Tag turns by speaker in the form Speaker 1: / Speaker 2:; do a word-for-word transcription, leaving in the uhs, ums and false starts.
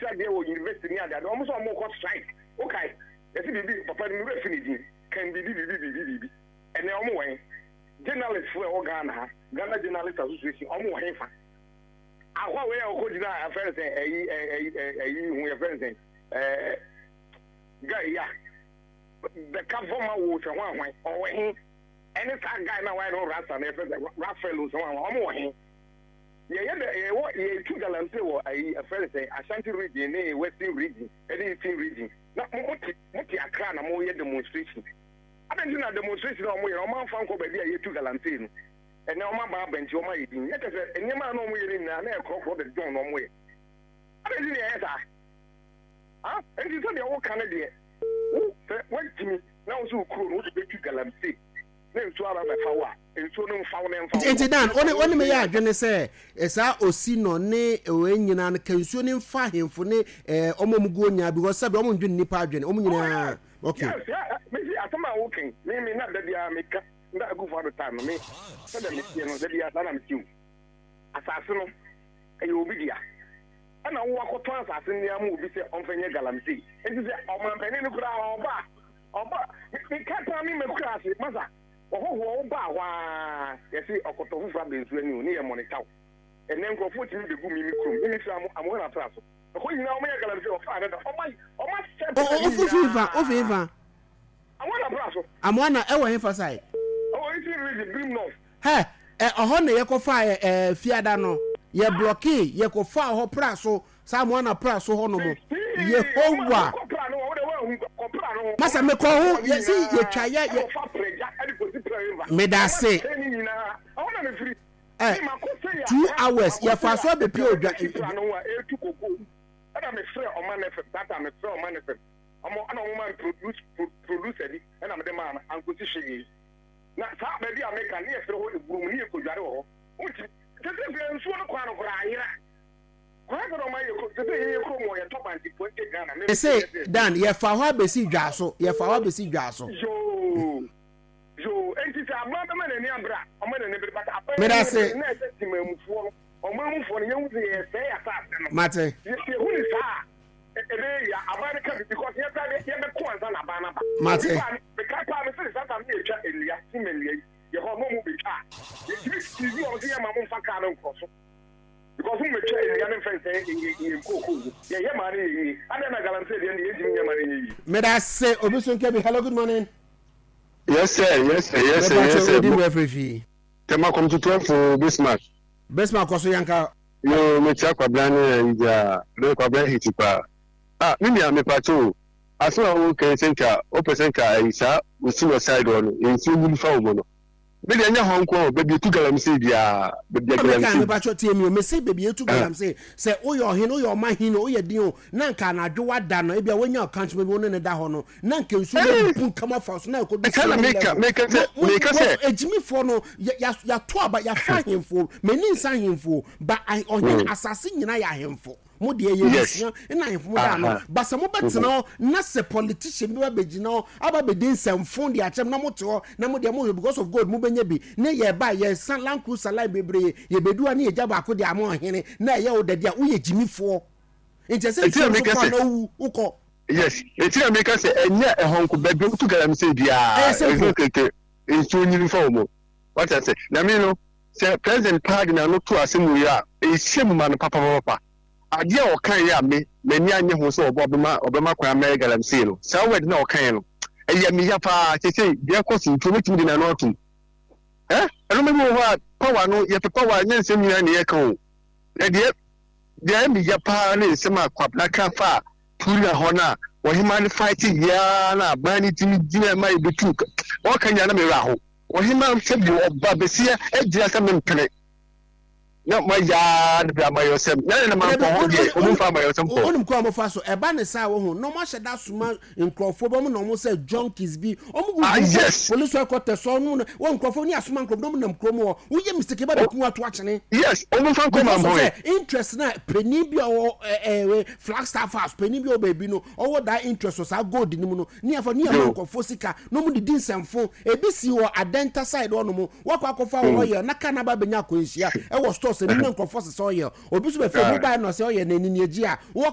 Speaker 1: Ɔkyerɛ adeɛ wɔ university ne adeade. Ɔmo sɛ ɔmo kɔ strike. Okay, yɛsi biribi papa no mi fi ne din kan biribi biribi biribi biribi. Ɛnɛ ɔmo wɔ he? Journalist fo a ɛwɔ Ghana ha, Ghana Journalist Association, ɔmo wɔ he fa? Akɔ wei a ɔkɔ gyina afɛn sɛ ɛyi ɛyi ɛyi ho yɛfɛn sɛ ɛɛ guy yi a bɛka fɔma wo sɛ ho ahwan, ɔwɔ he? Ɛne saa guy na wayɛ no rasta na yɛfɛ sɛ Raphael sɛ ho ahwan, ɔmo wɔ he? Yɛyɛ dɛ yɛwɔ yɛtu galamsey wɔ ayi afɛn sɛ Ashanti Region ne Western Region ɛne Eastern Region, na mo mo te mo te Accra na mo yɛ demonstration. Adan ti na demonstration a ɔmo yɛ no, ɔmo anfa nkɔ baabi a yɛtu galamsey no. Ɛnɛ ɔmo aba abɛnti, ɔmo ayɛ din yɛ kyɛ sɛ nneɛma a na ɔmo yɛ no nyinaa na yɛ korɔkorɔ de dɔn na ɔmo yɛ. Adan ti na yɛyɛ saa ah. Nti sɛ deɛ wɔka no deɛ, wo sɛ wɔntumi na wo sɛ wo kuro no wode bɛtu galamsey na nsuo aba bɛfa wo a, nsuo no mfa wo na mfa wo.
Speaker 2: Nti Dan, one one me yɛ adwene sɛ eh, saa osi no ne ɛwɔ nyinaa no ka nsuo ne mfa ahemfo ne eh, ɔmo ɔmo guo nyinaa, because sɛbi ɔmo ndwene nipa adwene ɔmo nyinaa, okay.
Speaker 1: Yes, yeah, mesi asɛm a woken me me na da biara meka na Akufo Addo time no, me sɛdeɛ meteɛ no da biara saa na mete o. Asase no ɛyɛ obi dea, ɛna wo akɔtɔn asase no ama obi sɛ ɔmfa nyɛ galamsey. Nti sɛ ɔmampanin no koraa ɔba a, ɔba meka paa me makura ase masa ɔhɔhoɔ wo baa hɔ a, yɛse ɔkɔtɔ foforɔ aba nsuo ani o ne yɛ mɔnita wo. Ɛnɛ nkurɔfoɔ tumi bɛgu mi me kurom, me mefiri Amohena pra so, ɛhɔ nyinaa ɔmo yɛ galamsey. Ɔfaa dada ɔma ɔma sɛ
Speaker 2: O o ofi fa ofi fa?
Speaker 1: Amohena pra so.
Speaker 2: Amoana ɛwɔ hefa side?
Speaker 1: Ɔwɔ Eastern Region, Birim North.
Speaker 2: Hɛ ɛ, ɔhɔ na yɛkɔfa ɛ ɛ fiada no yɛ block, yɛkɔfa hɔ pra so saa Amoana pra so hɔ nom. Yehowa masa mekɔ ho yɛsi yɛtwa yɛ yɛ meda ase ɛ two hours yɛfa so abɛpie odwa.
Speaker 1: Ɛna mefrɛ Ɔman F M tata, mefrɛ Ɔman F M, ɔmo ɛna ɔmo ma produce producer bi ɛna mede maa no ankosi hwee. Na saa baabi a meka ne yɛfrɛ hɔ Eburom ne yɛkɔdware wɔ hɔ. Wonti sɛ sɛ nsuo no kwan no koraa ayera kwan sɛ na ɔma yɛ sɛ sɛ yɛyɛ kurom wɔ yɛtɔ bankye twenty Ghana me.
Speaker 2: Ɛsɛ Dan, yɛfa hɔ abɛsi dwa so, yɛfa hɔ abɛsi dwa so.
Speaker 1: Yoo yoo, enti sɛ aban bɛma n'ani abere a, ɔma n'ani bere, but aban
Speaker 2: Meda
Speaker 1: n'ani
Speaker 2: ase.
Speaker 1: bere na ɛsɛ temamufoɔ no, ɔmanmufoɔ no, yɛhu sɛ yɛsɛe asase no.
Speaker 2: Mate.
Speaker 1: Yɛhu ne saa a, ɛbɛyɛ yia aban no ka bi, because yɛkora de yɛbɛko ansa na aban no aba.
Speaker 2: Mate.
Speaker 1: Obi baa meka paa me sɛ saa tam ne yɛtwa nnua sima nnua yi yɛ hɔ na ɔmo bɛtwa a, yɛtumi sisi ɔmo sɛ yɛma mo mfa kaa no nkorɔ so, because mo bɛtwa nnua no mfɛ nsɛ yɛ nkookoo mu yɛyɛ maa no yɛ yie. Adɛn na galamsey deɛ no yɛntumi nyɛ ma no yɛ yie?
Speaker 2: Meda ase. Obi so nka bi. Hello, good morning.
Speaker 3: Yes sir, yes sir, yes sir, yes
Speaker 2: mepatɛ
Speaker 3: sir.
Speaker 2: Odi mu afiri fie?
Speaker 3: Tema Community twelve, Bismarck.
Speaker 2: Bismarck, kɔ so, yɛnka.
Speaker 3: Yo, mekyia Kwabena ne ayi gya, me Kwabena hiti paa. Ah, me nua mepatɛ o. Asɛm a woka yi sɛ nka wopɛ sɛ nka ayi saa osi wɔ side hɔ no, nsuo nyini fa wo mu no. Me deɛ, ɛnyɛ hɔ nko o, baabi etu galamsey biara, baabi a
Speaker 2: meka
Speaker 3: galamsey.
Speaker 2: Mepatɛ tie mi o, mese baabi etu galamsey, sɛ woyɛ ɔhene, woyɛ ɔma hene, woyɛ din o, na nka anadwo wada no, ebia woanya ɔkankyema bi wo ne ne da hɔ no, na nka nsuo no bu nkama fa so na ɛkɔdu
Speaker 3: Ɛka na
Speaker 2: ceiling
Speaker 3: meka
Speaker 2: level.
Speaker 3: Meka sɛ
Speaker 2: Mo- mo-
Speaker 3: meka
Speaker 2: mo-
Speaker 3: sɛ
Speaker 2: agyimifoɔ no yɛ- yɛ- yɛato aba, yɛafa ahemfo, m'ani nsa ahemfo ba ah- ɔhene
Speaker 3: Mm.
Speaker 2: asase nyinaa yɛ ahemfo mo deɛ yɛ
Speaker 3: Yes.
Speaker 2: abusua ɛna ahemfo mo da ano
Speaker 3: Aha.
Speaker 2: ba. Sɛ mobɛtena hɔ na sɛ politician bi ba bɛgyina hɔ aba bɛdi nsɛmfo de akyɛm na mote hɔ na mo deɛ moyɛ because of gold mobɛnya bi ne yɛba yɛsa Land Cruiser line bebree, yɛbɛdu a ne yɛgya baako de ama ɔhene na ɛyɛ wo dɛde a, woyɛ gyimifoɔ. Nti ɛsɛ
Speaker 3: Ɛnti na
Speaker 2: nsuo nso
Speaker 3: meka
Speaker 2: fa
Speaker 3: sɛ
Speaker 2: na wowu wokɔ.
Speaker 3: Yes, eti na meka sɛ ɛnyɛ ɛhɔ nko, baabi a wotu galamsey biara
Speaker 2: Ɛyɛ simple.
Speaker 3: ɛsɛ keke nsuo nyini fa wɔ mu. Wate ase? Na mi no sɛ president paa de n'ano to asɛm wei a, ɛhyɛ mu ma no papapapa. Adeɛ a ɔka yɛ a me m'ani anye ho sɛ ɔbɔ ɔbɛma ɔbɛma kwan amɛyɛ galamsey no, saa word na ɔka yɛ no ɛyɛ me ya paa. Sese deɛ ɛkɔ so nti obetumi de n'ano atum ɛ ɛno bi wɔ hɔ a, power no yɛpɛ power, nyɛ nsɛm nyinaa na yɛka o. Na deɛ deɛ ɛyɛ me ya paa ne nsɛm a Kwabena ka fa a Turia hɔ no a ɔhema no fight yiaa na aban no tumi gyina ma yɛbɛtu ɔka nyina na merɛ aho. Ɔhema sɛbi ɔba bɛsia agyina sɛ mempene na mayaa no bi amayɔsɛm na ne na mankɔ hɔ deɛ, ɔmu mfa amayɔsɛm kɔ.
Speaker 2: Wonim kɔ a mofa so ɛba ne saa wɔ ho na ɔmo ahyɛ da soma nkurɔfoɔ bi, ɔmo na ɔmo sɛ junkies bi, ɔmo gu
Speaker 3: Ah, yes.
Speaker 2: Police headquarters so ɔno na wɔn nkurɔfoɔ ne asoma nkurɔfoɔ na ɔmo nam kurom hɔ, woyɛ mistake ba bɛku ato akyene.
Speaker 3: Yes, ɔmu mfa nkɔ
Speaker 2: because of
Speaker 3: mampɔn
Speaker 2: sɛ interest na panin bi a ɔwɔ ɛɛ ɛɛ Flagstaff House, panin bi a ɔwɔ baabi no, ɔwɔ that interest wɔ saa gold no mu no, ne yɛfa ne yɛma
Speaker 3: Yo.
Speaker 2: nkurɔfoɔ sika na ɔmo didi nsɛmfo. Ebi si wɔ Adenta side hɔnom, wakɔ akɔfa wɔ oil na kaa n'aba abɛnya akwanhyia ɛwɔ stores anim na nkurɔfoɔ sesa oil, obi nso bɛfɛ mu baa na ɔsɛ oil na ɛni ni agyi a wɔ